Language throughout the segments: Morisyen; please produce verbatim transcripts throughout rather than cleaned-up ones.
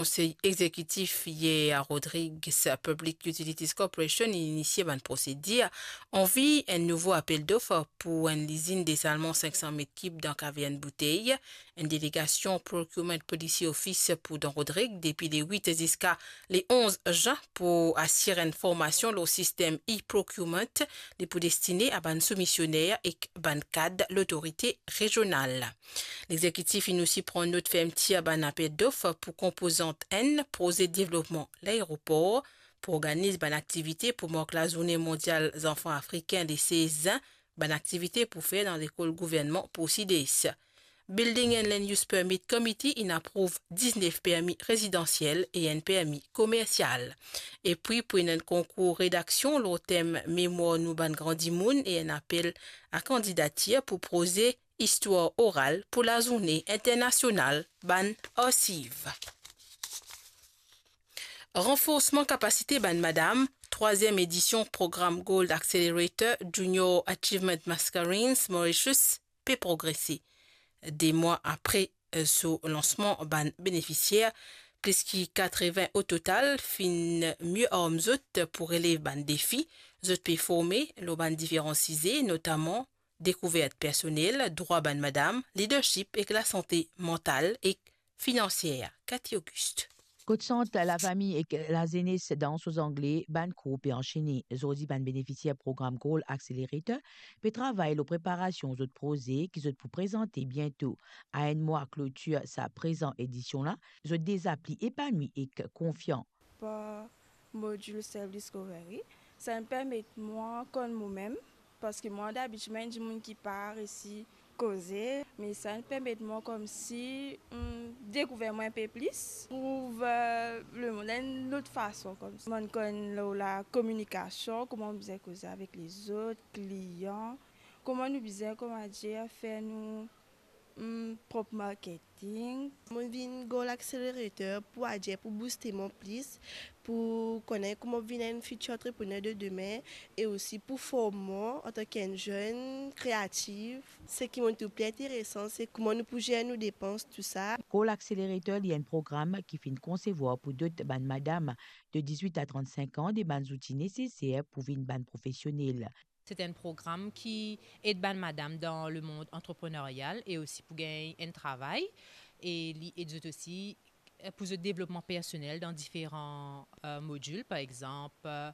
Konsey Egzekitif yer a Rodrigues Public Utilities Corporation inn inisie bann prosedir anvi enn nouvo apel dof pou enn lizinn desalman sink san met kib dan Kavern Boutey. Enn delegasion Procurement Policy Office pou dan Rodrig depi le wit ziska le onz zin pou asir enn formasion lor sistem e-procurement, li pou destine a bann soumisioner ek bann kad lotorite rezional. Lexekitif inn osi pran not fermtir bann apel dof pou konpozant enn proze devlopman laeropor, pou organiz bann aktivite pou mark Lazourne Mondial Zanfan Afrikin le sez zin, bann aktivite pou fer dan lekol gouvernman pou sides. Building and Land Use Permit Committee inn aprouv diznef permi rezidansiel e enn permi komersial. Epi pou enn konkour redaksion lor tem Memwar nou bann gran dimoun e enn apel a kandidatir pou proze Istwar Oral pou Lazourne Internasional bann Arsiv. Ranforsman kapasite bann madam, trwaziem edision program Gold Accelerator Junior Achievement Mascarenes Mauritius pe progrese. De mwa apre, eh, so lansman, bann benefisier, plis ki katrevin ototal, finn mie arm zot pou relev bann defi. Zot pe forme lor bann diferan size, notaman dekouvert personel, drwa bann madam, leadership ek lasante mantal ek finansier. Cathy Auguste. Kot sant lafami ek lazenes dan so zangle, bann kour pe ansene. Zordi bann benefisier program Gold Accelerator pe travay lor preparasion zot proze ki zot pou prezante biento. A enn mwa klotir sa prezan edision la, zot deza pli epanwi ek konfian. Par modil Self Discovery, sa inn permet mwa konn momem, parski mwa dabitir mo enn dimoun ki pa resi koze, me sa inn permet mwa koumsi, hmm, dekouver mwa inpe plis, trouv, eh, lemond enn lot fason koumsi. Mo'nn konn lor lakominikasion, kouma nou bizin koze avek lezot, klian, kouma nou bizin, kouma dir, fer nou, hmm, prop marketing. Mo'nn vinn Gold Accelerator pou adir, pou booste mwa plis, pou kone kouma vinn enn fitir antreprener de demin e osi pou form mwa antanki enn zenn kreativ. Seki mo'nn trouv pli interesan, se kouma nou pou zer nou depans, tousa. Gold Accelerator, li enn program ki finn konsevwar pou dot bann madam de dizwit a trannsink an de bann zouti neseser pou vinn bann profesionel. Se enn program ki ed bann madam dan lemond antrepreneryal e osi pou gagn enn travay. E li ed zot osi, eh, pou zot devlopman personel dan diferan, eh, modil, par exanp, eh,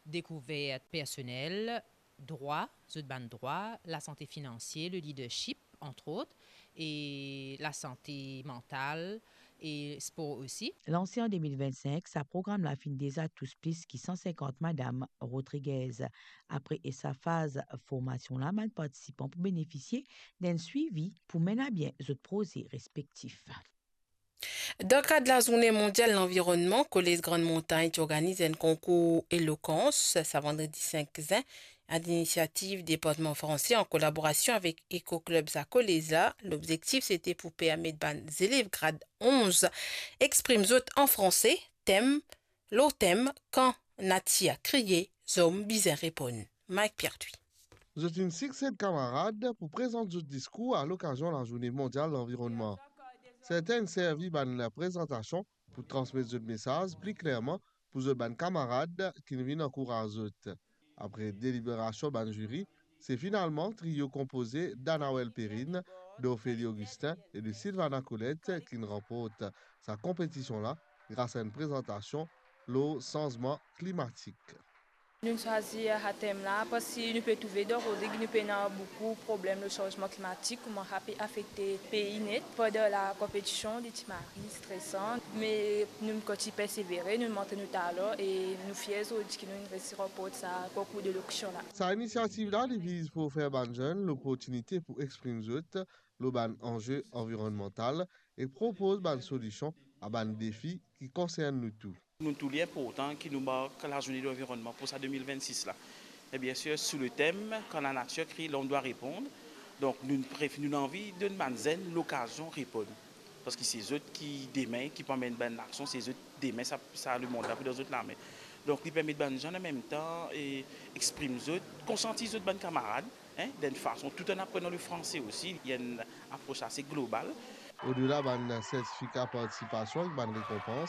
dekouvert personel, drwa, zot bann drwa, lasante finansie, le leadership, entre autres, e lasante mantal e spor osi. Lanse an de mil vennsink, sa program la finn deza tous plis ki san sinkant madam Rodriguez. Apre sa faz formasion la, bann partisipan pou benefisie d'enn swivi pou menn a bien zot proze respektif. Dan kad Lazourne Mondial Lanvironnman, Kolez Grann Montagn ti organiz enn konkour elokans, sa vandredi sink zin, a linisiativ Departman Franse an kolaborasion avek Eco Club sa kolez la. Lobzektif, sete pou permet bann zelev grad onz exprim zot an franse, tem, lor tem, Kan natir kriye, zom bizin reponn. Mike Pierre-Thuy. Zot inn siksed kamarad pou prezant zot diskour a lokazion Lazourne Mondial Lanvironnman. Sertin inn servi bann prezantasion pou transmet zot mesaz pli klerman pou zot bann kamarad ki vinn ankouraz zot. Apre deliberasion bann ziri, se finalman trio konpoze d'Anawel Perrine, d'Ophélie Augustin e de Sylvana Colette ki'nn ranport sa konpetision la gras a enn prezantasion lor sanzman klimatik. Nou'nn swazir sa tem la parski nou pe trouve dan Rodrig nou pena boukou problem lor sanzman klimatik, kouma sa pe afekte pei net. Pandan lakonpetision, li ti mari stresan, me nou kontign persevere, nou montre nou talan e nou fier zordi ki nou resi ranport sa konkour de lokasion la. Sa inisiativ la, li viz pou ofer bann zenn loportinite pou exprim zot lor bann anze anvironnmantal e propoz bann solision a bann defi ki konsern nou tou. Nou trouv li inportan ki nou mark Lazourne Lanvironnman pou sa de mil vennsis la. E biensir, sou le tem, Quand la nature crie, l'homme doit répondre. Donk, nou pref-, nou anvi donn bann zenn lokazion reponn. Parski se zot ki demin, ki pou amenn bann aksion, se zot demin, sa, sa lemond la pou dan zot lame. Donk, li permet bann zenn an mem tan e exprim zot, konsiantiz zot bann kamarad, hein, d'enn fason, tout an aprenan le franse osi, li enn apros ase global. Odela bann sertifika partisipasion ek bann rekonpans,